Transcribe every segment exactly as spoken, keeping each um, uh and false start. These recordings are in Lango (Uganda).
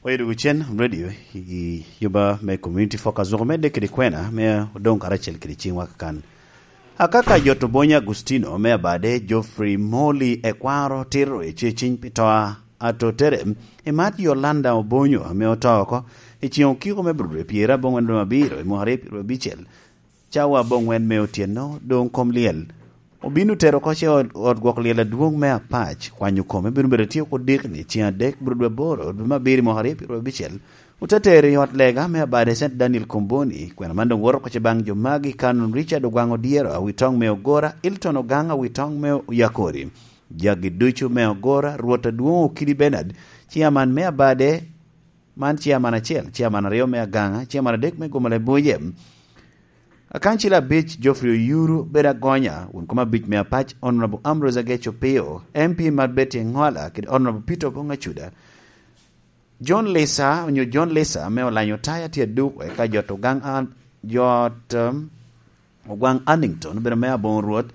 Oye dwogo cen radio i yuba me Community Focus, dok omedde kede kwena me odoŋ karacel kede ciŋwa kakan. Akaka jot Obonyo Agustino me Abade, Geoffrey Morley Ekwaro Tiro i Ceciny pi to a Atotere, i mat Yolanda Obonyo ame oto oko i ceŋ okiko me Abril pyerabongwen dwe abiro i mwaka aryo pyerabicel, cawa abongwen me otyeno, doŋ kom lyel. Obino tero oko ce ot, ot gwok lyel adwoŋ me Apac, kwanyo kome bino bedo tye oko dikni, ceŋ adek, Abril dwe aboro, dwe me abiro i mwaka aryo pyerabicel. Ote tero i ot lega me Abade Saint Daniel Komboni, kwena man doŋ woto oko ce baŋ jo magi: Canon Richard Ogwaŋ Odyero, Awitoŋ me Ogora, Hilton Ogaŋ, Awitoŋ me Oyakori, jagi ducu me Ogora, Rwot Adwoŋ Okidi Bernard, ciaman me Abade, man ciaman acel, ciaman aryo me Agaŋa, ciaman adek me Gomala Ebuje. Akancil abic, Geoffrey Oyuru, bedo agonya, won kom abic me Apac, Honorable Ambrose Ageco Pio, M P mar Betty Eŋola, kede Honorable Peter Obong Acuda. John Lisa, onyo John Lisa, me Olanyo Taya tye aduk, eka jot Ogaŋ An-, jot, um, Ogwaŋ Annington, obedo me Aboŋo Rwot,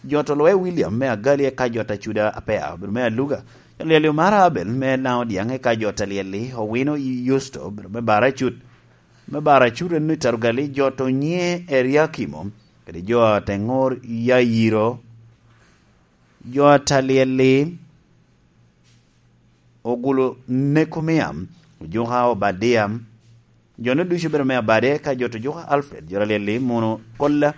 jot Oloe William me Agali, eka jot Acuda Apea, obedo me Aluga, jot Lyeli Omara Abel me Laŋo Dyaŋ, eka jot Alyeli Owino Yusto, obedo me Bara Acut, me Bara Acut en i Tarugali, jot Onye Eriakimo, kede jot Eŋor Yayiro, jot Alyeli Ogulo Nekomiam, Ojuka Obadia, jo-nu ducu obedo me Abade, ka jot Ojuka Alfred, jot Alyeli Muno Kolla,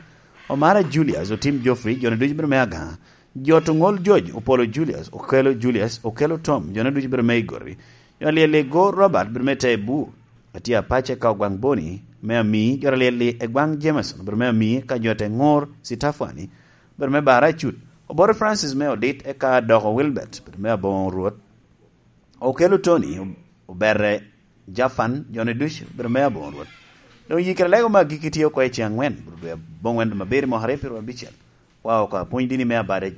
Omara Julius, Otim Geoffrey, jo-nu ducu obedo me Agaŋa, jot Oŋol George, Opolo Julius, Okelo Julius, Okelo Tom, jo-nu ducu obedo me Igori, jot Alyeli Go Robert, obedo me Tebu, Atia Pace ka Ogwaŋ Boni, me Ami, jot Alyeli Egwaŋ Jameson, obedo me Ami, ka jot Eŋor Sitafani, obedo me Bara Acut, Obote Francis me Odit, eka doko Wilbert, obedo me Aboŋo Rwot, Okelo Tony, Obere Jafan, jo-nu ducu obedo me Aboŋo Rwot. Doŋ yikere lego me agikki tye oko i ceŋ aŋwen, Abril dwe aboŋwen dwe me abiro i mwaka aryo pyerabicel. Wa oko apwony dini me Abade,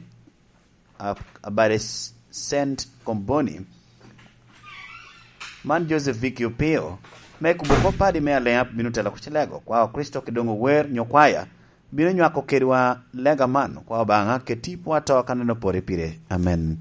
Ab-, Abade S-, Saint Komboni, man Joseph Vicky Opio, me kubo kop padi me Aleap bino telo oko ce lego, kwa Kricito ki doŋ ower nyo kwaya, bino nywako kedwa lega man, kwa Obaŋa, keti pwa to ka neno pore pire. Amen.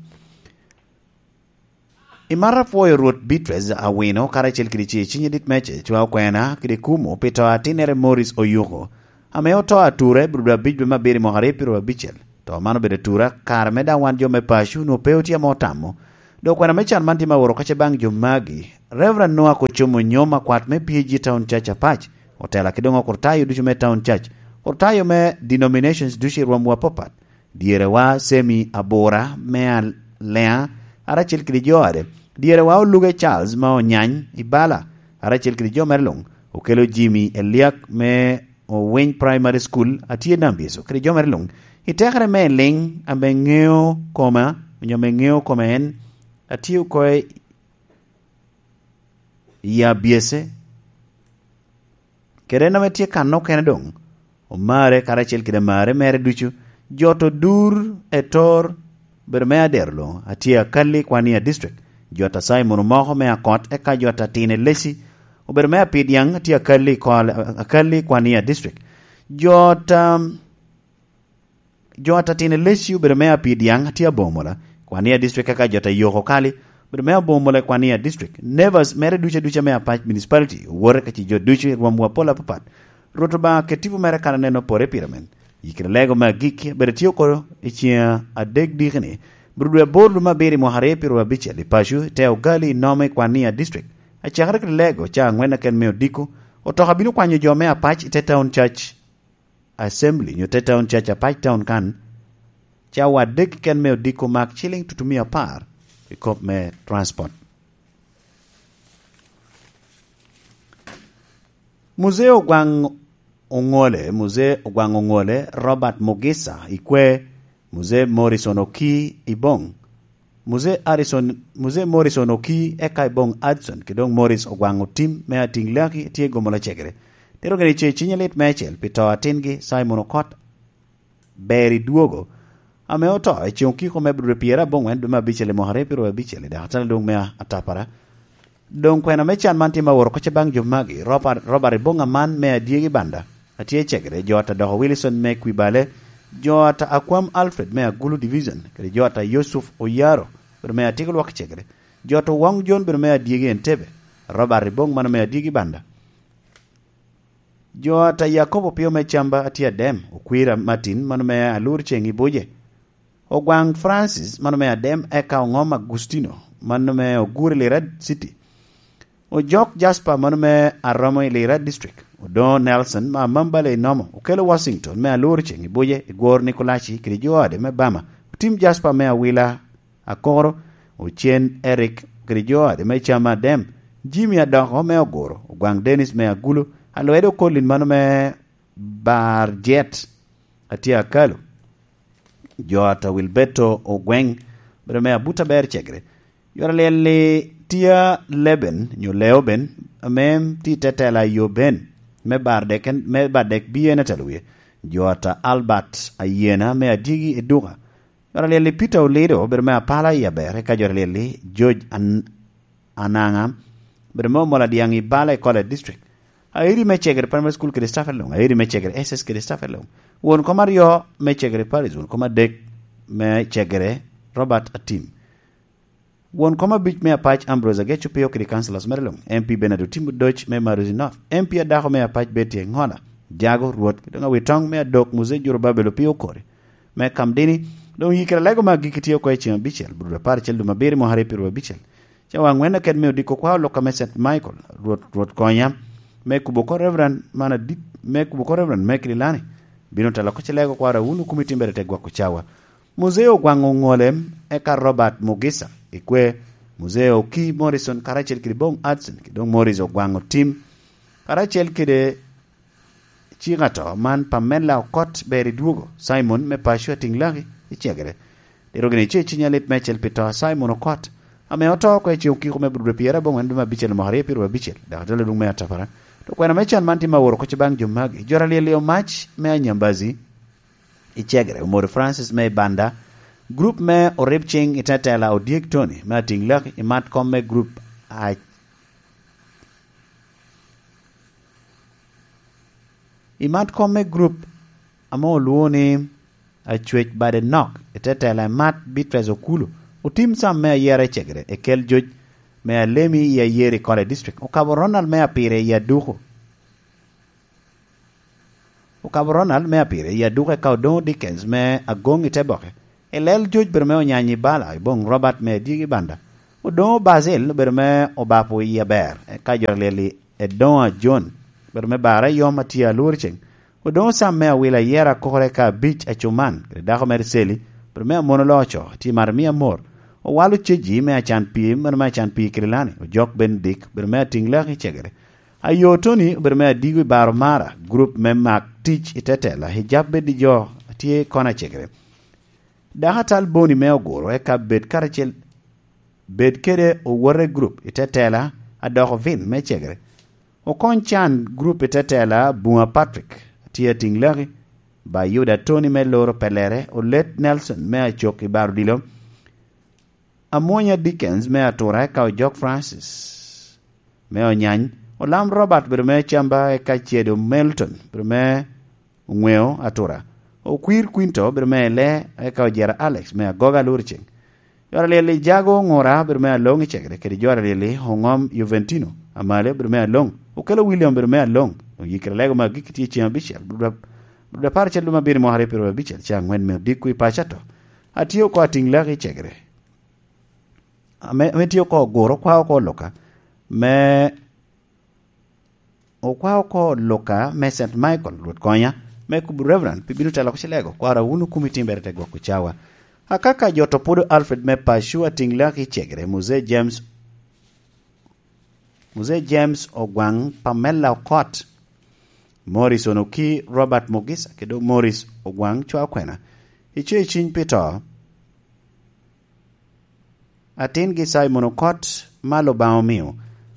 I marra apwoyo Rwot Beatrice Awino karacel kede ce Ciny Adit Mece, cwa okwena kede kumo pi to a tinnere Morris Oyuko, ame oto atura i Abril dwe abic dwe me abiro i mwaka aryo pyerabicel. To man obedo atura kare me daŋ wan jo me paco onwoŋo pe otye ame otamo. Dok okwena me can man tye me aworo kace baŋ jo magi: Reverend Noah Kocomo Nyom, akwat me P A G Town Church Apac, otela ki doŋ okurtayo ducu me Town Church, okurtayo me denominations ducu i rwomwu apapat, dyerewa Semi Abura me Al-, Leŋa, karacel kede jo ade, dyerewa Oluge Charles ma Onyany i Bala, karacel kede jo mere luŋ, Okelo Jimmy Eliak me Owiny Primary School, atye Nambyeco, kede jo mere luŋ, i tekere me liŋ ame ŋeo koma, onyo ame ŋeo koma en, atye oko i Abyece, kede en ame tye kan okene doŋ, Omare karacel kede amare mere ducu, jot Odur Etor, obedo me Adero luŋ, atye Akalli Kwania District, jot a Simon Omoko me Akot, eka jot a Tine Leci, obedo me Apidyaŋ, atye Akalli Kol-, Akalli Kwania District, jot, um, jot a Tine Leci obedo me Apidyaŋ, atye Abomola, Kwania District, eka jot a Yoko Kali, obedo me Abomola i Kwania District. Neighbors mere ducu aduca me Apac Municipality owote ka ci jo ducu i rwomwu apol apapat. Rwot Obaŋa ket tipo mere kan aneno pore pire men. Yikere lego me agikki, bedo tye oko i ceŋ adek dikini, Abril dwe aboro dwe me abiro i mwaka aryo pyerabicel, i paco, i te Ogali, i Nome, i Kwania District. Acakere kede lego, ca aŋwen aken me odiko, otoka bino kwanyo jo me Apac i te Town Church Assembly, nyo te Town Church Apac Town kan, cawa adek keken me odiko, mak ciliŋ tutumia apar i kop me transport. Muzee Ogwaŋ Oŋole, Muzee Ogwaŋ Oŋole, Robert Mugisa i Kwe, Muzee Morrison Oki i Boŋ, Muzee Harrison, Muzee Morrison Oki, eka i Boŋ Hudson, kede doŋ Morris Ogwaŋ Otim me Atiŋ Laki tye i Gomola Cegere. Tito gini ce Ciny Alit meicel pi to atingi Simon Okot Beri Dwogo, ame oto i ceŋ okiko me Abril pyerabongwen dwe me abicel i mwaka aryo pyerabicel i dakatala lwong me Atapara. Doŋ kwena me can man tye me aworo kocce baŋ jo magi: Robert, Robert Ibong Aman me Adyegi Banda, atye i Cegere, jo ata Doko Wilson me Kwibale, jo ata Akwam Alfred me Agulu Division, kede jo ata Yusuf Oyaro, obedo me Atyeko Lwak i Cegere. Jot Owoŋ Jon bedo me adyegi Entebbe, Robert Ribong mano me adyegi Banda. Jo ata Yakobo Opio me Camba atye Adem, Okwira Martin mano me Alur Ceŋ i Buje, Ogwaŋ Francis mano me Adem, eka Oŋom Agustino mano me Ogur i Lira City, Ojok Jasper mano me Aromo i Lira District, Odoŋo Nelson ma Amambale i Nomo, Okelo Washington me Alur Ceŋ i Buje, Igwor Nikolaci kede jo ode me Bama, Otim Jasper me Awila Akoro, Ocen Eric kede jo ade me Cam Adem, Jimmy Adoko me Oguro, Ogwaŋ Dennis me Agulu, Alwede Okolin mano me Bar Jet, atye Akalu, jo ata Wilberto Ogweŋ, bedo me Abuta Ber Cegere, jo alyel-li tye Leben nyo Leoben, ame tye i tetela yo Ben, me bar dek, me bar dek bi en atelo wie, jo ata Albert Ayena me Adyegi Eduka, jo alyel-li Peter Olido obedo me Apala i Aber, eka jo alyel-li George An-, Ananga obedo me Omola Dyaŋ i Bala i College District. Aeri me Cegere Primary School kede staff along, Aeri me Cegere S S kede staff along. Won kom aryo me Cegere Parish, won kom adek me Cegere Robert Atim. Won kom abic me Apac Ambrose Ageco Pio kede councillors mere luŋ, M P Bernard Otim Odoc me Maruzi North, M P adako me Apac Betty Eŋola, Jago Rwot, kede doŋ Awitoŋ me Adok Muzei Jurubabel Opio Okori, me Kamdini, doŋ yikere alego me agikki tye oko i ceŋ abicel, Abrudo apar acel dwe me abiro mwaka aryo pyeraryo abicel. Cawa aŋwen aket me odiko kwa oluka me Saint Michael, Rwot, Rwot konya, me kubo oko Reverend man adit, me kubo oko Reverend Mekri Lani, bino telo oko cilego kwara wun okumi timbere te gwako cawa. Muzeo Ogwaŋ Oŋolem, eka Robert Mugisa, ikwe, Muzeo Oki Morrison, karacel kede Bong Hudson, kede doŋ Morris Ogwaŋ Otim, karacel kede cik ato man Pamela Okot ber idwogo, Simon me Paco Atiŋ Laki i Cegere. Diro gini ce ciny alit mecel pi to a Simon Okot, ame oto oko i ceŋ okiko me Aburudo pyeraryo aboŋwen dwe me abicel mwaka aryo pyeraryo abicel, dok atelo luŋ me atapara. To kwena me can man tye ma woro oko baŋ jo magi, jo alyel i Omac me Anyambazi, i Cegere, Omori Francis me i Banda, grup me Orib Ciŋ i Tetela, Odyek Tony me Atiŋ Laki, i mat kom me grup a-, i mat kom me grup ame olwoŋo ni Acwec Bade Nok i Tetela, i mat Beatrice Okulu, Otim Sam me Ayera i Cegere, Ekel Joc me Alemi i Ayeri College District, Okabo Ronald me Apire i Aduku. Okabo Ronald me Apire i Aduku, eka Odoŋo Dickens me Agoŋ i Teboke, Elel Joc bedo me Onyany i Bala, i Boŋ Robert me Adyegi Banda, Odoŋo Basil bedo me Obapo i Aber, eka jo alyel-li Edoŋo Ajon bedo me Bara Yom atye Alwor Ceŋ, Odoŋo Sam me Awila Ayera Akore, eka Abic Acuman kede dako mere Celi bedo me Amono Loco atye Maramia Amor, Owalo Ceji me Acan Pii, meno me Acan Pii Kirilani, Ojok Benedict bedo me Atiŋ Laki i Cegere, Ayo Tony obedo me Adigo i Baro Mara, grup me Mak Tic i Tetela, Hijab Bed i Jo atye Kono a Cegere, Dako Atal Boni me Oguro, eka Bed Karacel, Bed Kede Owote grup i Tetela, Adoko Vin me Cegere, Okony Can grup i Tetela, Bunga Patrick atye Atiŋ Laki, Bayuda Tony me Loro Pelere, Olet Nelson me Acok i Baro Dilo, Amwonya Dickens me Atura, eka Ojok Francis me Onyany, Olam Robert bedo me Camba, eka Cedo Melton bedo me Oŋweo Atura, Okwir Quinto bedo me Ele, eka Ojera Alex me Agoga Luriceng. Jo alyel-li Jago Oŋura bedo me Aloŋ i Cegere, kede jo alyel-li Oŋom Juventino Amale bedo me Aloŋ, Okelo William bedo me Aloŋ, doŋ yikere lego me agikki tye ceŋ abicel, Abrudo apar acel dwe me abiro mwaka aryo pyeraryo abicel, ca aŋwen me odiko i paco ato. Atye oko Atiŋ Laki i Cegere. Ame, ame tye oko Oguro, okwa oko Luka me, okwa oko Luka me Saint Michael, Rwot konya, me kubo Reverend pi bino telo oko cilego, kwara wun okumi timbere te gwoko cawa. Akaka jo to Pudo Alfred me Paco Atiŋ Laki i Cegere, Muzee James, Muzee James Ogwaŋ, Pamela Okot, Morris Onoki, Robert Mugisa, kede Morris Ogwaŋ Cwa Okwena, ice i ciny pi to. Atingi Simon Okot ma Lubanga omio,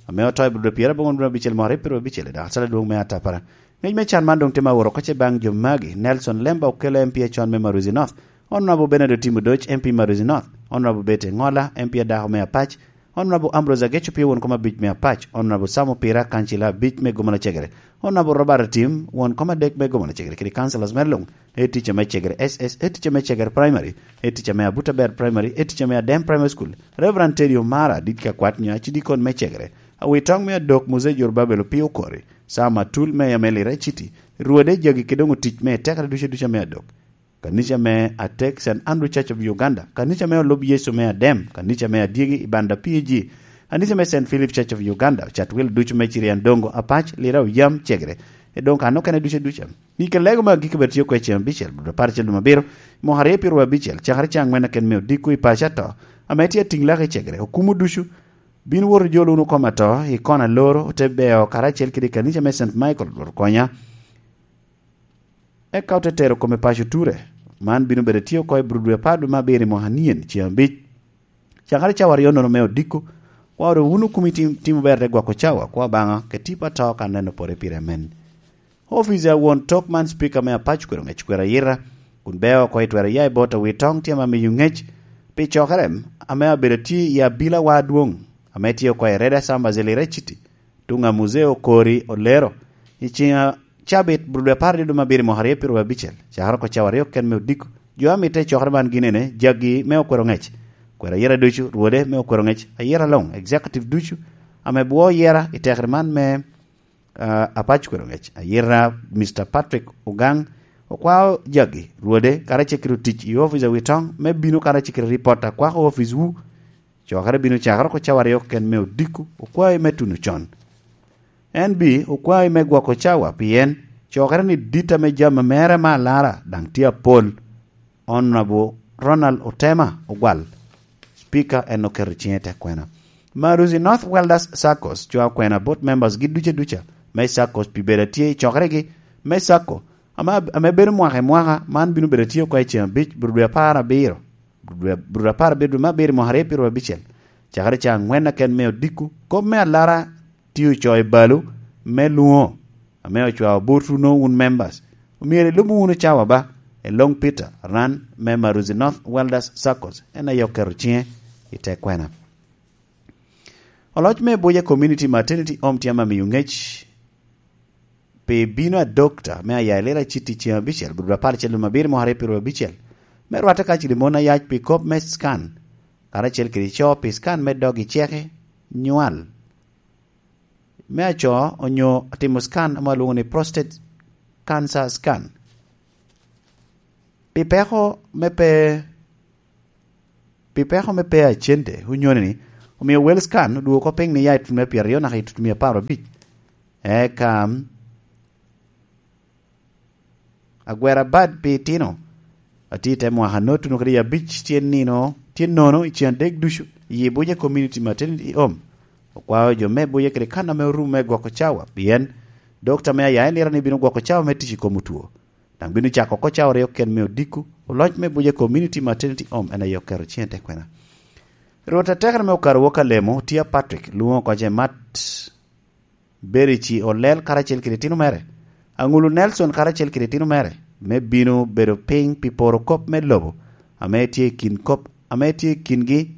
ame oto i Aburudo pyeraryo aboŋwen dwe abicel mwaka aryo pyeraryo abicel, dok acalo adwoŋ me atapara. Ngec me can man doŋ tye ma woro oko ce baŋ jo magi, Nelson Lemba Okelo M P acon me Maruzi North, Honorable Bernard Otim Odoc M P Maruzi North, Honorable Betty Eŋola M P adako me Apac, Honorable Ambrose Ageco Pio won kom abic me Apac, Honorable Sam Opira kancila abic me Gomala Cegere, Honorable Robert Atim won kom adek me Gomala Cegere, kede councillors mere luŋ, e ticca me Cegere S S, e ticca me Cegere Primary, e ticca me Abuta Ber Primary, e ticca me Adem Primary School, Reverend Teddy Omara, dit ka kwat nyo acidikon me Cegere, Awitoŋ me Adok Mose Jorobabel Opio Okori, Sam Atul me Amelira City, Rwode jagi kede doŋ otic me tekere ducu ducu me Adok. Kanica me Atek Saint Andrew Church of Uganda, kanica me Olub Yecu me Adem, kanica me Adyegi i Banda P G, kanica me Saint Philip Church of Uganda, Chatwil ducu me Cirian Dongo, Apac, Lira, Oyam, Cegere, e doŋ kan okene ducu ducu. Ni ke lego me agikki bed tye oko i ceng abicel, bot apar acel dwe abiro, mwaka aryo pyeru abicel, cakere ceng angwen aken me odiko i paco ato, ame tye atiŋ lak i Cegere, okumo ducu, bino woto jolo wunu kom ato i kona loro, ote beo karacel kede kanica me Saint Michael, Rwot konya. Eka ote tero kome paco ture. Man bino bedo tye oko i bur dwe apar dwe me abiro i mwaka nien ceng abic. Cakere cawa aryo nono me odiko, kwa oro wunu kumi tim, timo ber te gwoko cawa, kwa Obaŋa, ke tipo ato ka neno pore pire amen. Ofice a won tok man, Speaker me Apac kwero ŋec kwero ayita, kun beo oko i twero ya i bot Awitoŋ tye ame miyo ŋec pi cokere ame abedo tye i abila wa adwoŋ, ame tye oko i Reda Samba Zelira City, tuŋ a Muzeo Okori Olero, i ceng a cabit, bur dwe apar dwe me abiro i mwaka aryo pyeru abicel, cakere oko cawa aryo ken me odiko. Jo a mitte i cokere man gin ene, jagi me okwero ŋec, kwero ayita ducu, rwode me okwero ŋec, ayita luŋ, executive ducu, ame bwo yera i tekere man me, ah, Apac kwero ŋec, ayita Mister Patrick Ogang, okwao jagi, rwode, karacel kede otic i office a Awitoŋ, me bino karacel kede ripot a kwako office wu, cokere bino cakere oko cawa aryo ken me odiko, okwae me tuno con. En bi okwae me gwoko cawa, pien cokere ni dit ame jami mere me alara daŋ tye apol. Honorable Ronald Otema Ogwal, Speaker, en oketo ciŋe i te kwena. Maruzi North Welders Saccos cwao kwena bot members gi duce duca me Saccos pi bedo atye i cokeregi me Sacco, ame, ame bedo mwaka i mwaka, man bino bedo atye oko i ceng abic, bur dwe apar abiro, bur dwe, bur dwe apar abiro, dwe me abiro, mwaka aryo pyeru abicel, cakere ca angwen aken me odiko. Kop me alara tye ocoo i balo me lwoŋo, ame ocwao botwu no wun members. Omyero ilub wunu cawa ba, i Long Peter Ran me Maruzi North Welders Saccos, en aye oketo ciŋe i te kwena. Oloc me Abuja Community Maternity Home tye ame miyo ŋec pi bino a dokta me aya i Lira City ceng abicel, bur dwe apar acel dwe me abiro mwaka aryo pyeru abicel, me rwatte kacel i mon ayac pi kop me scan, karacel kede co pi scan me dog i ceke, nywal me aco, onyo timo scan ame olwoŋo ni prostate cancer scan. Pi peko me pe, pi peko me pe a cente, onyoni ni, omio wel scan odwogo oko piny ni ya i tut me pyeraryo naka i tut mia apar abic. Eka, agwera bad pi itino, atye i te mwaka notuno kede i abic tye nino, tye nono i ceng adek ducu, i Abuja Community Maternity Home. Okwao jo me Abuja kede kan ame orumo me gwoko cawa, pien dokta me aya i Lira ni bino gwoko cawa me tic i kom otwo. Daŋ bino cako oko cawa aryo ken me odiko, oloc me Abuja Community Maternity Home en aye oketo ciŋe i te kwena. Rwot atekere me Okaro Wok Alemo, Tia Patrick, lwoŋo oko Jemat Berici Olel karacel kede itino mere, Aŋulu Nelson karacel kede itino mere, me bino bedo piny pi poro kop me lobo, ame tye i kin kop, ame tye i kingi.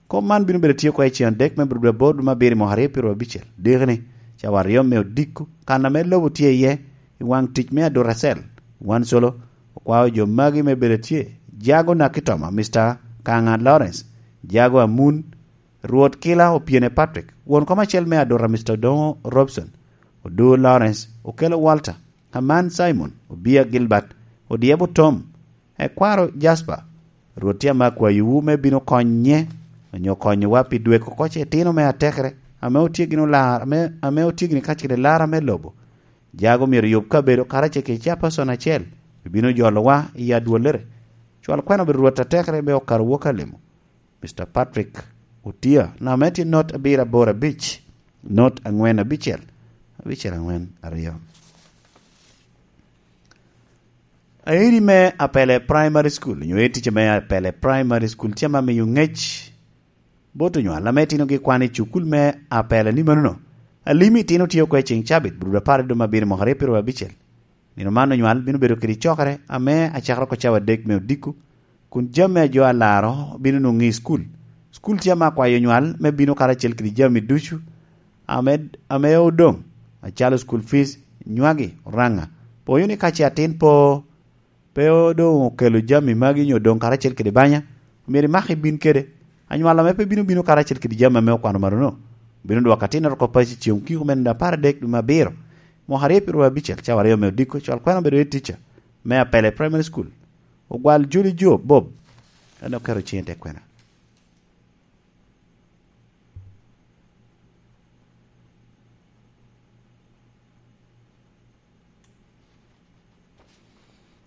Kop man bino bedo tye oko i ceng adek me bur dwe aboro dwe me abiro i mwaka aryo pyeru abicel, diki ni, cawa aryo me odiko, kan ame lobo tye iye, i waŋ tic me Aduracel, wan colo, okwao jo magi me bedo tye, Jago Nakitoma, Mister Kaŋa Lawrence, Jago Amun, Rwot Kila Opyene Patrick, won kom acel me Adura Mister Odoŋo Robson, Odur Lawrence, Okelo Walter, Aman Simon, Obia Gilbert, Odyebo Tom, Ekwaro Jasper, Rwot tye ame akwayowu me bino konye, onyo konyowa pi dweko oko ce itino me atekere, ame otye gin olar-, ame, ame otye gin kacel kede lara me lobo. Jago myero yub kabedo karacel kede capacon acel, ebino jolowa i adwollere. Cwal kwena obedo Rwot atekere me Okaro Wok Alemo. Mister Patrick Otia, namba ame tye not abiro aboro abic, not angwen abicel, abicel angwen aryo. Airi me Apele Primary School, onyo ticca me Apele Primary School, tye ame miyo ŋec bot onywal ame itinogi kwan i cukul me Apele ni manono. Alimi itino tye oko i ceng cabit, bur dwe apar i dwe me abiro mwaka aryo pyeru abicel. Nino man onywal bino bedo kede cokere ame acakere oko cawa adek me odiko, kun jami a jo alaro bino nwoŋo i cukul. Cukul tye ame akwayo nywal me bino karacel kede jami ducu ame, ame odoŋ, acalo cukul fic, nywagi, oraŋa. Poyo ni ka ce atin po, pe doŋ okelo jami magi onyo odoŋ karacel kede banya, myero imak ibin kede. Anywal ame pe bino bino karacel kede jami ame okwano malo-nu, bino dwoko atinnere oko paco i ceŋ okiko me nino apar adek dwe me abiro, mwaka aryo pyedo abicel, cawa aryo me odiko, cwal kwena obedo head teacher me Apele Primary School. Ogwal Juli Jo Bob, en oketo ciŋe i te kwena.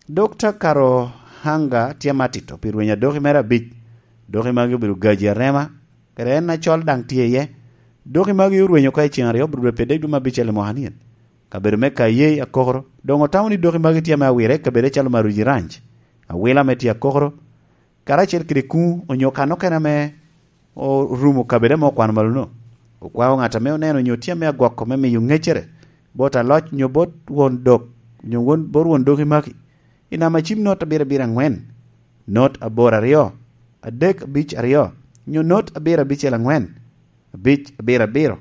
Dokta Karohanga tye matito pi rwenyo adoki mere abic. Doki magi obedo gaji arema, kede en acol daŋ tye iye. Doki magi orwenyo oko i ceŋ aryo, obedo dwe pyeraryo dwe me abicel i mwaka nien. Kabedo me Kayei Akokoro, doŋ otamo ni doki magi tye ame awire i kabedo calo Maruji Ranch, Awila me tye Akokoro, karacel kede kuŋ onyo kan okene ame orumo kabedo ame okwano malo-nu. Okwao ŋat ame oneno onyo tye ame agwoko me miyo ŋeccere bot aloc onyo bot won dok, onyo won, bot won doki magi. I namba cim not abiro abiro aŋwen, not aboro aryo, adek abic aryo, onyo not abiro abicel aŋwen, abic abiro abiro,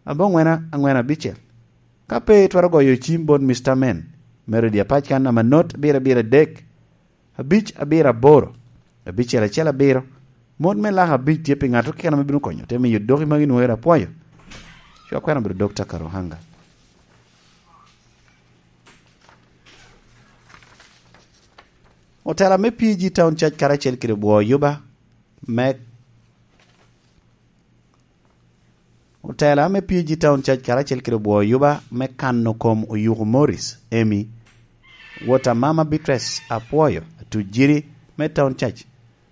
aboŋwen aŋwen abicel. Ka pe itwero goyo cim bot Mister Men, me redio apac kan namba not abiro abiro adek, abic abiro aboro, abicel acel abiro, mot me laka abic tye pi ŋat okene ame bino konyo te miyo doki magi nwoŋere apwoyo. Cwa kwena obedo Dokta Karuhanga. Otela me P G Town Church karacel kede bwo yuba me Otela me P G Town Church karacel kede bwo yuba me kano kom oyuku Morris, Emi, wot a mama Beatrice Apwoyo, atujiri me Town Church,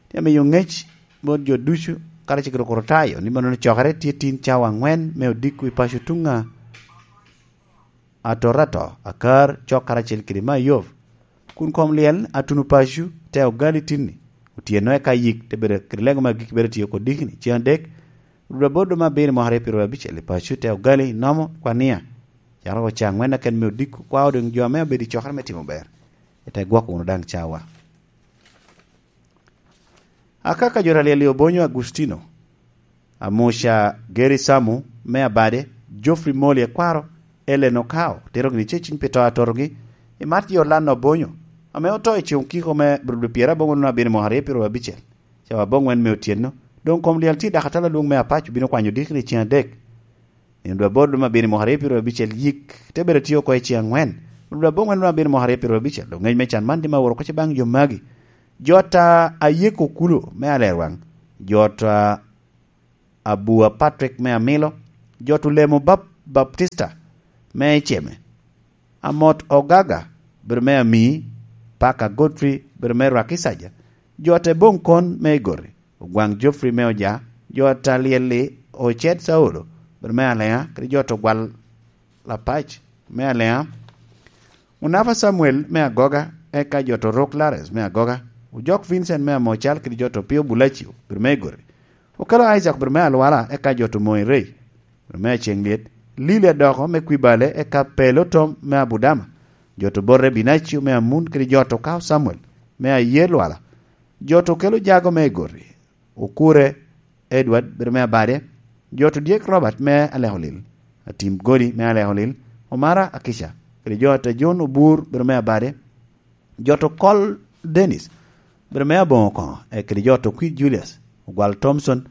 tye miyo ŋec bot jo ducu karacel kede Okrutayo ni mano cokere tye tin cawa aŋwen me odiko i paco tuŋ a Atorato, Akar, cok karacel kede Mayov, kun kom lyel atuno paco te ogali tinni, otyeno eka yik te bedo kede lego me agikki bedo tiyo kodikni, ceŋ adek, rudwa bot duma abiro i mwaka aryo pyedo abicel i paco te ogali nomo kwania, caro oca aŋwen aken me odiko, kwao doŋ jo ame obedo i cokere me timo ber, ite gwoko wunu daŋ cawa. Akaka jo ta lyel i Obonyo Agustino, Amuca Geri Samu me Abade, Geoffrey Moli Ekwaro, Ellen Okao, tero gini ceciny pi to atotogi, i mat jo Lanna Obonyo, ame oto i ceŋ okiko me Abril dwe pyeraboro aboro nino abiro mwaka aryo pyedo abicel, cawa aboŋwen me otyeno, doŋ kom lyel tye dako atala lwong me Apac obino kwanyo dikri i ceŋ adek. Nino dwe aboro dwe me abiro mwaka aryo pyedo abicel yik, te bedo tye oko i ceŋ aŋwen, dwe aboŋwen dwe me abiro mwaka aryo pyedo abicel, doŋ ŋec me can man tye ma owoto oko baŋ jo magi. Jot a Ayeko Kulo me Alerwaŋ, jot a Abua Patrick me Amilo, jot Olemo Bap-, Baptista me Iceme, Amot Ogaga, bedo me Amii, Paka Godfrey, bedo me Rwakicaja, jot Eboŋ Kon me Igori, Ogwaŋ Geoffrey me Oja, jot Alyel-li Ocet Saulo, bedo me Aleŋa, kede jot Ogwal Lapac me Aleŋa, Onafa Samuel me Agoga, eka jot Orok Lares me Agoga, Ojok Vincent me Amocal, kede jot Opio Bulacio, bedo me Igori, Okelo Isaac, bedo me Alwala, eka jot Omoŋ Rei, bedo me Aceŋ Lyet, Lili Adoko me Kwibale, eka Pelo Tom me Abudama, jot Obote Binacio me Amun, kede jot Okao Samuel me Aye Lwala, jot Okelo Jago me Igori, Okure Edward, bedo me Abade, jot Odyek Robert me Alekolil, Atim Godi me Alekolil, Omara Akica, kede jot Ajon Obur, bedo me Abade, jot Okol Dennis, bedo me Aboŋo Koŋo, e, kede jot Okwi Julius, Ogwal Thompson,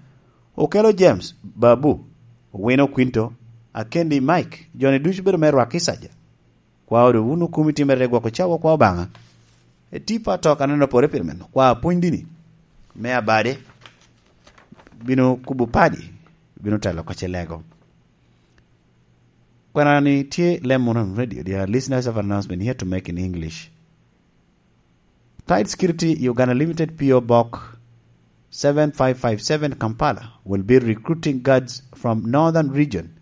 Okelo James, Babu, Owino Quinto, Akendi Mike, joni ducu bedo me Rwakicaja. Kwao doŋ wun okumi timmere te gwoko cawa kwa Obaŋa. E tipo atok aneno pore pire meno. Kwa apwony dini me Abade bino kubo padi, bino telo oko ce lego. Kwanani tye Lemon Radio, dear listeners of announcement here to make in English. Tight Security Uganda Limited, P O Box seven five five seven, Kampala, will be recruiting guards from Northern Region